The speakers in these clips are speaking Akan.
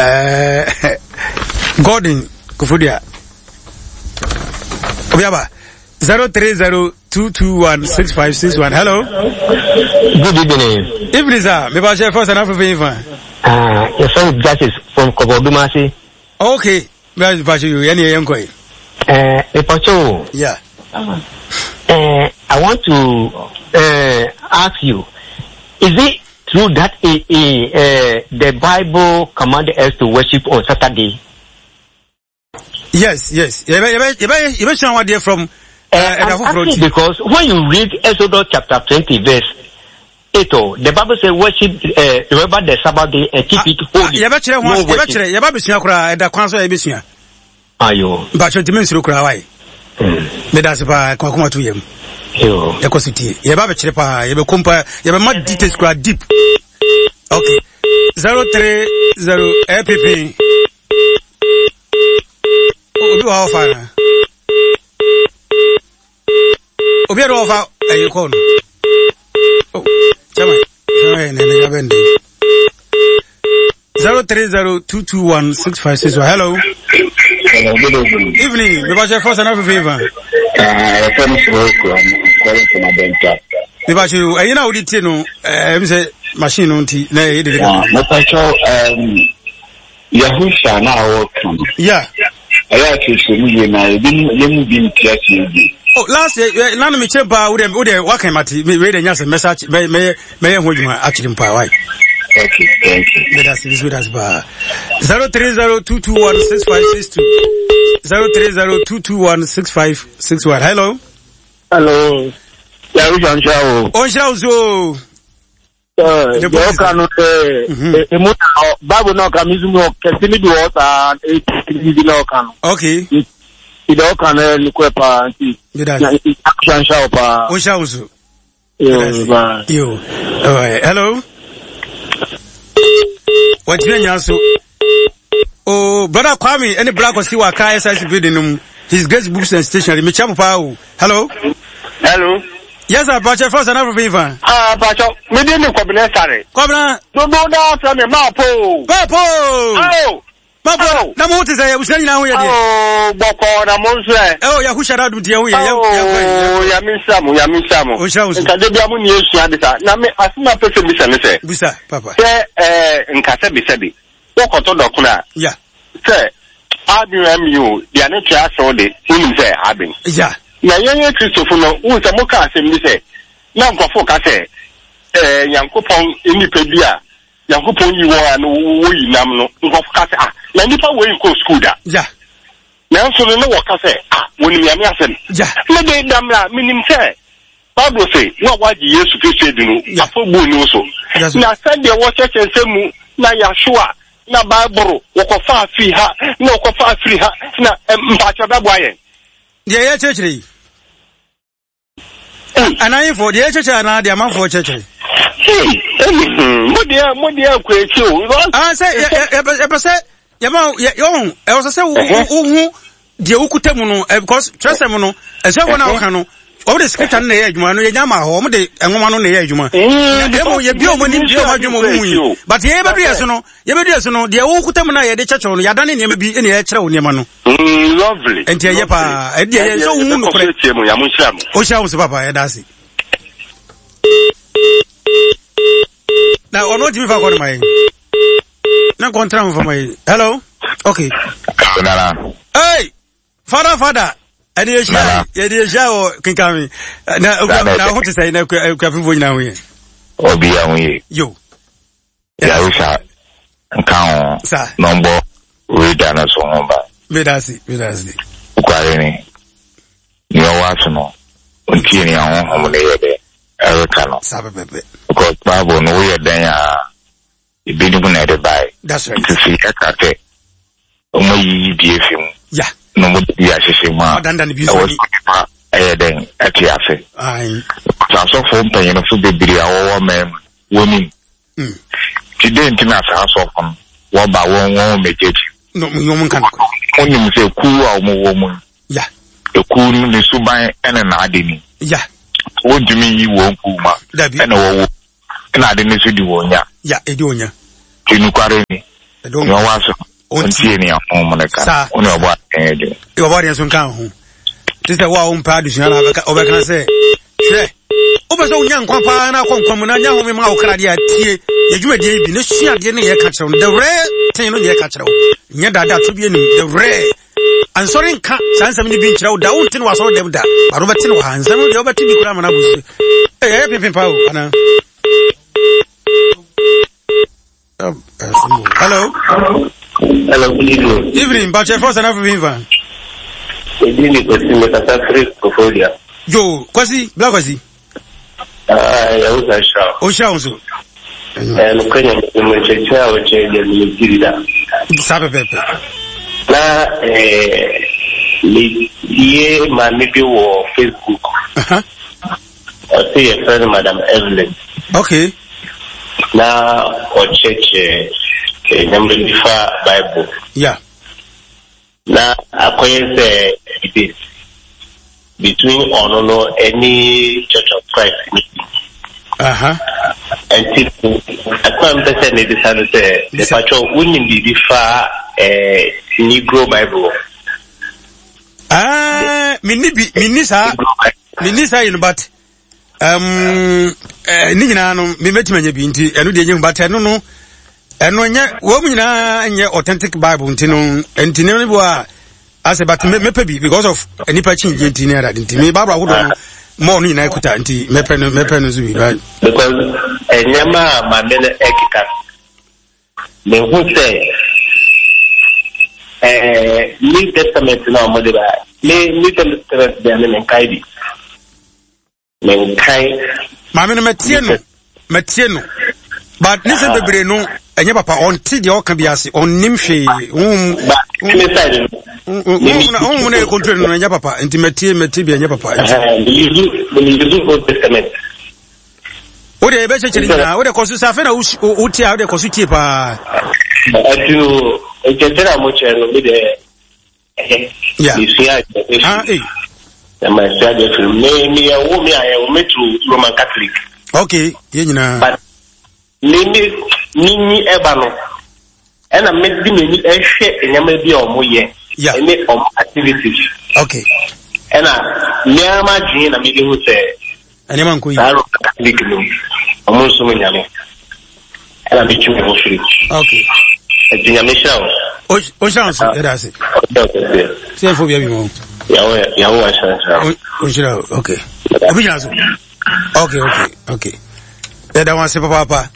Eh, Gordon Kofodia. Obi aba. 0302216561. Hello. Good evening. Evening, sir. Me ba share first and after fa. Ah, your friend Justice from Kobodumasi. Okay. Me ba share you. Any yenko. Eh, me pa Yeah. Eh, I want to ask you, is it true that the Bible commanded us to worship on Saturday? Yes. Yɛbɛhyɛ wa deɛ from I'm asking because when you read Exodus chapter 20 verse 8, oh, the Bible says worship, remember the Sabbath day and keep it holy. Yɛbɛkyerɛ ho yɛbɛkyerɛ yɛba bɛsua koraa ɛda kwan so a yɛbɛsua. Ayo. Mpakyɛ ntumi nsuro koraa wae. Meda ase paa kɔmakoma to yam. Yɛkɔ so tie. Yɛba bɛkyerɛ paa yɛbɛkɔ mpa yɛbɛma details koraa deep. Okay. 030 ɛpepe. Obi wɔ hɔ ɔfa na. Obi a ɔfa ɛyi kɔɔ no. Oh, chairman, chairman, na ɛna yabɛn de. 0302216561. Hello. Hello, good evening. Evening. Me bache first and favor. I'm calling from Adenta. Me bache you. Eh, you know the no. Eh, me say machine no nti na eh de. Me bache Yahusha na ɔreka no. Yeah. Ɛyɛ akyerɛkyerɛ mu yie na ebi yɛn mu bi nte aseɛ yie. Oh, last year, nanu mi kyerɛ paa, wode wode waka mate, me wei de nya sɛ mɛsa mɛ mɛyɛ mɛyɛ ho adwuma akyerɛ mu paa, why? Okay, thank you. Meda se, bisu meda se paa. 0302216562 0302216561. Hello. Hello. Yahusha nhyira wo. Ɔnhyira wo so. Deɛ ɔka no sɛ emu na hɔ Bible na ɔka mi nso mu kɛse no bi wɔ saa eti na ɔka no. Okay. Nti deɛ ɔka no yɛ nokorɛ paa nti. Nhyira nhyira wo paa. Ɔnhyira wo so. Yo, bye. Yo. All right. Hello. Wɔgyina nya so. Oh, brother Kwame, any black or see what car SIC building no. His Grace Books and Stationery. Me chapo pa o. Hello. Hello. Yes, sir. Pacho first and everything fan. Ah, Pacho, me dey me Kwabena Sare. Kwabena. Dodo na afra me ma po. Ma po. Oh. Ma po. Na mo te sɛ abusua nyinaa ho yɛ deɛ. Oh, bɔkɔ na mo nso ɛ. Oh, Yahusha na adum tie ho yɛ. Oh, ya me nsa mo, ya me nsa mo. O nhyira wo so. Nka de bia mo ni esua de sa. Na me asema pɛ sɛ bisa ne sɛ. Bisa, papa. Sɛ eh nka sɛ bisa bi. Wokɔtɔ dɔkono a. Yeah. Sɛ aben ami o, deɛ ne tua asew de, wonim sɛ aben. Yeah. Na yɛn yɛ Kristofo no, wohu sɛ moka asɛm bi sɛ, na nkurɔfo ka sɛ, ɛɛ Nyankopɔn nnipa bi a Nyankopɔn yi wɔn a no woyi nam no, nkurɔfo ka sɛ, ah, na nnipa wei nkɔɔ sukuu da. Yeah. Nanso no, na wɔka sɛ, ah, wɔnim Nyame asɛm. Yeah. Me de, damra, menim sɛ Bible se, wo a woagye Yesu Kristo adi no, afɔbuo nni wo so. Na sɛdeɛ wɔkyerɛkyerɛ nsɛm mu na Yahshua na Bible wɔkɔfaa firi ha na wɔkɔfaa firi ha na mpakyɛ bɛboa yɛn. Deɛ yɛkyerɛkyerɛ yi. Anayefo, deɛ yɛkyerɛkyerɛ anaa deɛ amanfoɔ kyerɛkyerɛ? Mo deɛ mo deɛ kɔ akyi o. Ah, sɛ yɛpɛ sɛ yɛma yɛhu ɛwɔ sɛ sɛ wohu deɛ wokuta mu no eh, because twerɛsɛm no asuafoɔ no a wɔka no wɔn de scripture no na ɛyɛ adwuma no yɛnya ma hɔ wɔn de nwoma no na ɛyɛ adwuma na emu yɛbie wɔn anim bie wɔn adwuma wɔn mu yi but yɛn yɛbɛdu yɛ so no yɛbɛdu yɛ so no deɛ wokuta mu no a yɛde kyɛkyɛw no yɛadane nneɛma bi na yɛkyerɛ wo nneɛma no lovely nti ɛyɛ paa ɛdeɛ yɛ sɛ wohu nokorɛ ɔhyira wo so papa yɛda ase na ɔno ntumi fa kɔ no ma yɛn na nkɔntra ho fama yi hello okay nana hey father father ɛne yɛhyia yɛde yɛhyia wɔ kenkame na na ho te sɛ na akuafofoɔ nyinaa ho yɛ obi a ho yɛ yo yaresa nka ho na ɔmbɔ reda no so ho ba medase medase nokware ni nea ɔwɔ aso no ɔntie nea honhom no yɛ dɛ ɛreka no saa pɛpɛpɛ because bible no woyɛ dɛn a ebinom na ɛde bae. That's right. Nti sɛ yɛka sɛ wɔayiyi bi afi mu yeah. na wɔde bi ahyehyɛ mu a, ɛwɔ sɛ nipa ɛyɛ dɛn ɛte ase. Sɛ asɔfo mpanyinfo bebree a wɔwɔ man mu wɔnim. Mm. Nti dɛn nti na saa asɔfo no wɔba wɔn wɔn mmɛgye akyi? Wɔnim sɛ kuw a wɔwɔ mu no, yeah. ekuw no ne suban ɛne n'ade ni. Yeah. Wɔntumi nyi wɔn kuw ma ɛna wɔwɔ ɛna ade no nso di wɔn nya. Ya, edi wɔn nya. Ti nokware ni. Nea ɔwɔ aso no, ɔntie nea honhom no ka. Wo ne ɔbɔ adeɛ yɛ adwuma. Ɔbɔ adeɛ nso nka ho. Te sɛ wo a wompɛ adesua na wobɛka sɛ, hwɛ, wopɛ sɛ wonya nkwa paa na akɔ nkwa mu na nya home ma wo kra deɛ a, tie yɛ dwumadie yi bi na sua adeɛ ne yɛka kyerɛ wo. The rare thing no ne yɛka kyerɛ wo. Nyɛ daadaa to bi anim. The rare. Ansɔre nka saa nsɛm no bi nkyerɛ wo da. Wonte no wɔ asɔre dɛm da. But wobɛte no wɔ ha. Nsɛm no deɛ wobɛte bi koraa ma no abu so. Ɛyɛ pempem paa o, anaa? Hello. Hello, good evening. Evening, Bache Force and Africa. Ebi ni Kwesi mekasa firi Koforidua. Yo, Kwesi, Black Kwesi. Ah, ya wo sa hyira. O hyira wo so. Eh, no kwenya mo nkyerɛkyerɛ a wɔkyerɛ deɛ me ti da. Saa pɛpɛpɛ. Na eh me tie maame bi wɔ Facebook. Uh-huh. Ɔse yɛfrɛ no Madam Evelyn. Okay. Na ɔkyerɛkyerɛ nneɛma bi fa Bible. Yeah. Na akɔyɛ sɛ debate between ɔno no ɛne Church of Christ ni. Aha. Nti ɛkwan mpɛ sɛ mebisa no sɛ mepatwɛ wonim biribi fa eh, Negro Bible? Ah, menni bi menni saa menni saa yi no but um, eh, ne nyinaa no mebɛtumi anya bi nti ɛno deɛ nyɛ but ɛno no ɛno nyɛ wɔn mu nyinaa nyɛ authentic bible nti no nti ne bi wɔ a asɛ but mɛpɛ bi because of nipa kyi gye nti ne adade nti me bible ahodoɔ no mɔɔ no nyinaa kuta nti mɛpɛ no mɛpɛ no nso bi right. Because nneɛma a maame no ɛkeka Mehu sɛ ɛɛ New Testament na wɔde ba me New Testament deɛ me menkae bi menkae. Maame no mɛtie no mɛtie no but ne sɛ bebree no ɛnyɛ papa ɔnte deɛ ɔka bi ase ɔnnim hwee honhom honhom na ɛkɔntrol no ɛnyɛ papa nti mɛtie mɛtie bi ɛnyɛ papa nti. Old Testament. Wo deɛ yɛbɛkyɛkyɛ ne nyinaa wo deɛ kɔ so sɛ afei na wotie a wo deɛ kɔ so tie paa. Ɛti o nkyɛkyerɛ a mokyerɛ no me deɛ ɛyɛ mesua adeɛ ah, afiri na masua adeɛ afiri me meyɛ wo me a yɛwo me to Roman Catholic. Okay yɛn nyinaa. But me me menyi ɛba no ɛna mede m'ani ɛhwɛ nneɛma bi a wɔyɛ ɛne wɔn activities. Okay. Ɛna mmea ma adwene na mede hu sɛ. Nneɛma nkɔ yi. Saa Roman Catholic no wɔn nsom nyame ɛna metwi me ho firi. Okay. Ɛti nyame hyira wo. O hyira wo so ɛda ase. Sɛ ɛfo bia bi mu. Yawo yawo ahyira nhyira. O hyira wo okay. Obi gyina so. Okay okay okay. Ɛda wɔn ase papaapa.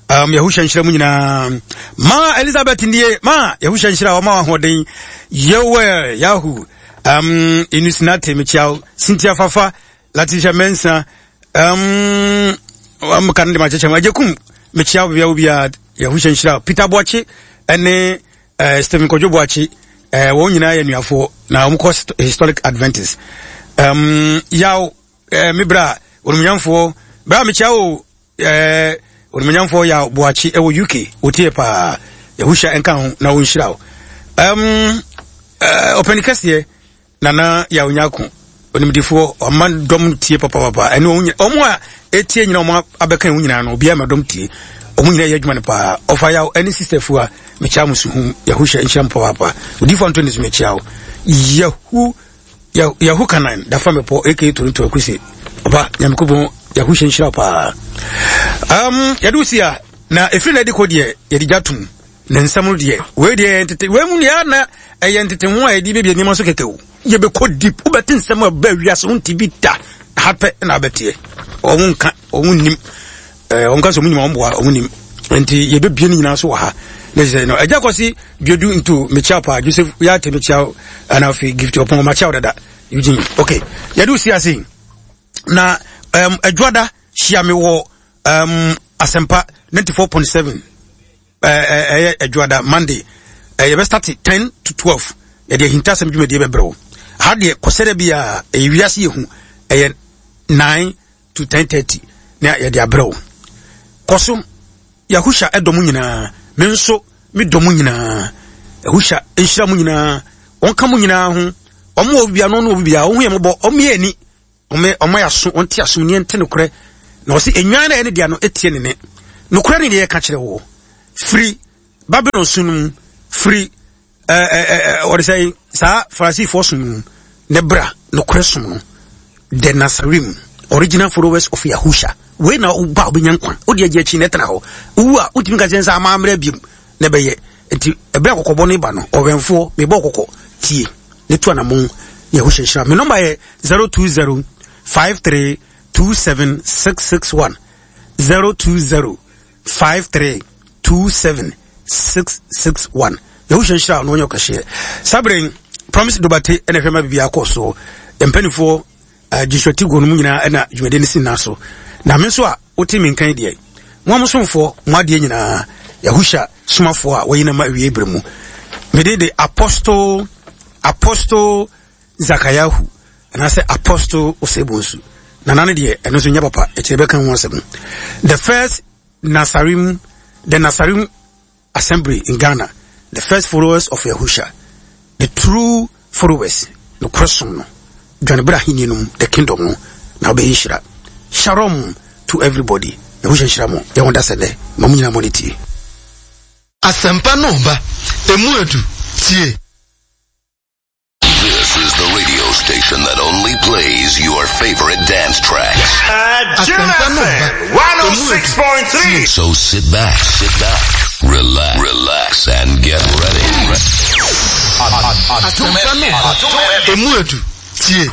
Um, Yahusha nhyira mu nyinaa. Ma Elizabeth nie, ma Yahusha nhyira ɔma ahoɔden. Yewel Yahu, um, Inusinate mekyia Cynthia Fafa, Latisha Mensa, um, um, kan de makyekyɛ mu. Agyekum mekyia wo bia wo bia Yahusha nhyira. Peter Boakye ɛne uh, Stephen Kojo Boakye, uh, wɔn nyinaa yɛ nuafoɔ na wɔn kɔ Historic Adventist. Um, yaw, uh, me bra, onumnyamfoɔ, bra mekyia wo Ɛɛ Onimuonyamfoɔ Yaw Boakye ɛwɔ UK wotie paa Yahusha nka ho na ɔnhyira wo. Um, uh, ɔpɛni kɛseɛ Nana Yaw Nyako onimdifoɔ ɔma dɔm tie papapapa ɛne ɔmo a ɛtie nyina ɔmo abɛka ɛho nyinaa no obiara ma dɔm tie ɔmo nyinaa yɛ adwuma no paa ɔfa yaw ɛne sister fua mekyia mo suhum Yahusha nhyira mo papaapa odifoɔ Anthony so mekyia wo Yahu Yahu Kanan dafa mepɔ aka Toronto akuse ɔba Nyankopɔn Yahu hyɛ nhyira paa um, yɛde wo si a na ɛfiri na ɛde kɔ deɛ yɛde gya tom ne nsɛm no deɛ wei deɛ ntete wei mu deɛ na ɛyɛ ntete ho a yɛde bɛbi nneɛma so kɛkɛ o yɛbɛkɔ deep wobɛte nsɛm a ɛbɛ wiase ho nte bi da ha pɛ na abɛteɛ wɔn nka wɔn nim ɛɛ wɔn ka sɛ wɔn nyima wɔn boa wɔn nim nti yɛbɛbie no nyinaa so wɔ ha ne sɛ no agya kɔsi dwadu nto mekyia paa joseph yɛate mekyia ana afei gift ɔpɔn makyia wo dada eugene ok yɛde wo si ase na um, adwada hyia me wɔ um, asɛmpa 94.7 ɛyɛ adwada monday yɛbɛstarte 10 to 12 yɛde ahintasɛm dwumadie bɛbrɛ wo ha deɛ kɔsɛdɛ bi a ɛyɛ wiase yɛhu ɛyɛ 9 to 10:30 na yɛde abrɛ wo. Kɔ so, Yahusha dɔ mo nyinaa, me nso me dɔ mo nyinaa. Yahusha nhyira mo nyinaa, ɔnka mo nyinaa ho. Wɔn wɔ bibia no, ɔno wɔ bibia, wɔn ho yɛ mɔbɔ, wɔn yɛ ani, wɔn wɔn yɛ aso, wɔn te aso, ne nte nokorɛ. Na wɔsi enwan na ɛne deɛ no etie ne ne. Nokorɛ ne deɛ yɛka kyerɛ wɔ. Firi. Babylon som no mu, firi wɔde sɛ saa Farisifoɔ som no mu, ne bra nokorɛ som no, the Nasarim, original followers of Yahusha. Wei na woba a wobɛnya nkwa, wode agye akyi na ɛtena hɔ. Wowu a, wotumi ka kyerɛ sɛ ama mmerɛ biom na ɛbɛyɛ. Nti ɛberɛ a kɔkɔbɔ no ba no, ɔwɛnfoɔ, mebɔ kɔkɔ, tie, ne tu anamon, Yahusha nhyira. Me nɔmba yɛ 020 53 27 661 020 53 27 661. Yahusha nhyira no ɔnyɛ ɔkɛseɛ. Saa berɛ Promise Dobate ɛna ɛhwɛ ma biribi akɔ soɔ. Mpanimfoɔ eh, Joshua Tigo no mu nyinaa ɛna dwumadie no si nyinaa so. Na me nso a wote me nkan deɛ, mo a mosomfoɔ, mo adeɛ nyinaa, Yahusha somafoɔ a wɔyi no ma awie berɛ mu. Mede de Apostle Apostle Zakayahu anaasɛ Apostle Osei-Bonsu. Nana no deɛ ɛno nso nyɛ papa, ɛkyerɛ bɛka ho asɛm. The first Nasarim, the Nasarim Assembly in Ghana, the first followers of Yahusha, the true followers, nokorɛ som no, dwane bra ahenni no mu, the kingdom no, na wobɛyɛ nhyira. Shalom to everybody. Yahusha nhyira mo. Yɛn ho da sɛ dɛ. Ma mo nyinaa mo ne tie. Asɛmpa no ba, emu edu, tie. This is the radio station that only plays your favorite dance tracks. Jim FM 106.3. So sit back, sit back, relax, relax, and get ready. Emu edu, tie.